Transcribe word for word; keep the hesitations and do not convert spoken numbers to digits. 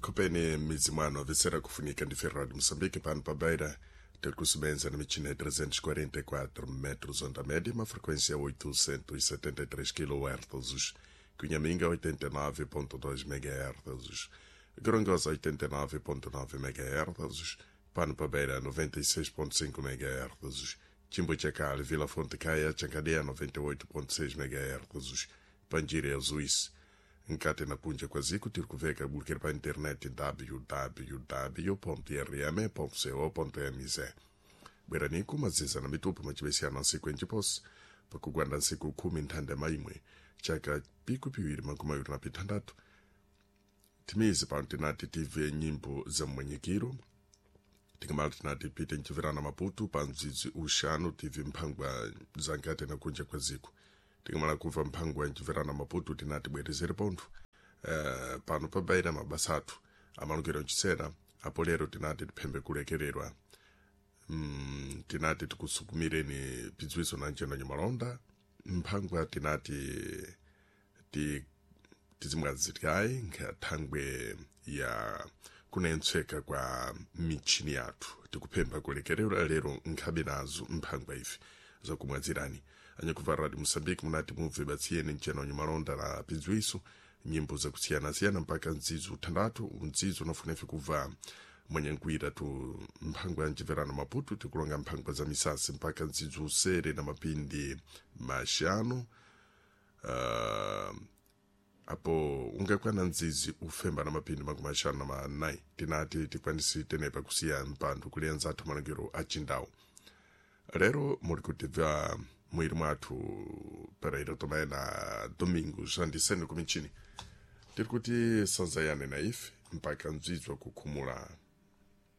Khopeni midzi mwano avesera kufunika ndi Ferrari Moçambique pano pa Beira terkusebenza na michina ya trezentos e quarenta e quatro metros onda média, uma frequência oitocentos e setenta e três quilociclos, Cunhaminga oitenta e nove ponto dois megahertz, Gorongosa oitenta e nove ponto nove megahertz, Pano pa Beira noventa e seis ponto cinco megahertz, Chimbochacal, Vila Fonte Caia, Chancadeia noventa e oito ponto seis megahertz, Panjira Zuiz, nkati na kunja kwa ziku tiri kuveka bulukira pa internet w w w ponto r m ponto co ponto m z. Bweraniku maziza na mitupo macivesiyana nsiku enjiposi pakugwanda nsiku khumi nthanda maimwe chaka piku piwiri makumi awiri na pithandatu. Timizi pano tinati tive nyimbo za mmwenyekiro, tikamala tinati pite nchiverana Maputu pa mdzidzi uxanu tive mphangwa za nkati na kunja kwa ziku. Tikamala kumva mphango ya nchiverana Maputu tinati bwerezere pontho uh, pano pabaira mabasa athu amalukiro nchisera apo lero tinati tiphembe kulekererwa. mm, tinati tikusukumireni pidziwiso na nceno nyamalonda mphangwa tinati ti tizimwazitikayi nkhathangwe ya kunentsweka kwa michini yathu. Tikuphempha kulekererwa lero nkhabe nazo mphangwa ife zakumwazirani. Anyakuva Radio Moçambique munati mubve batsiyeni nceno nyamalonda na pidziwiso nyimbo zakusiyanasiyana mpaka mdzidzo uthandatu mdzidzo unafuna ife kubva mwenyankwira tu mphangwa ya mchiverano Maputo tikulonga mphangwa za misasi mpaka mdzidzo usere na mapindi maxanu. uh, apo ungakwana nzizi ufemba na mapindi makumi axanu na manayi tinati tikwanisi tenepa kusiya mpando kulianza athu malangiro achindawu. Lero muli kutibva mwiri mwathu Pereira Tomé na Domingos Andisene kumichini. Tiri kuti sanzayane na ife mpaka mdzidzi wakukhumula.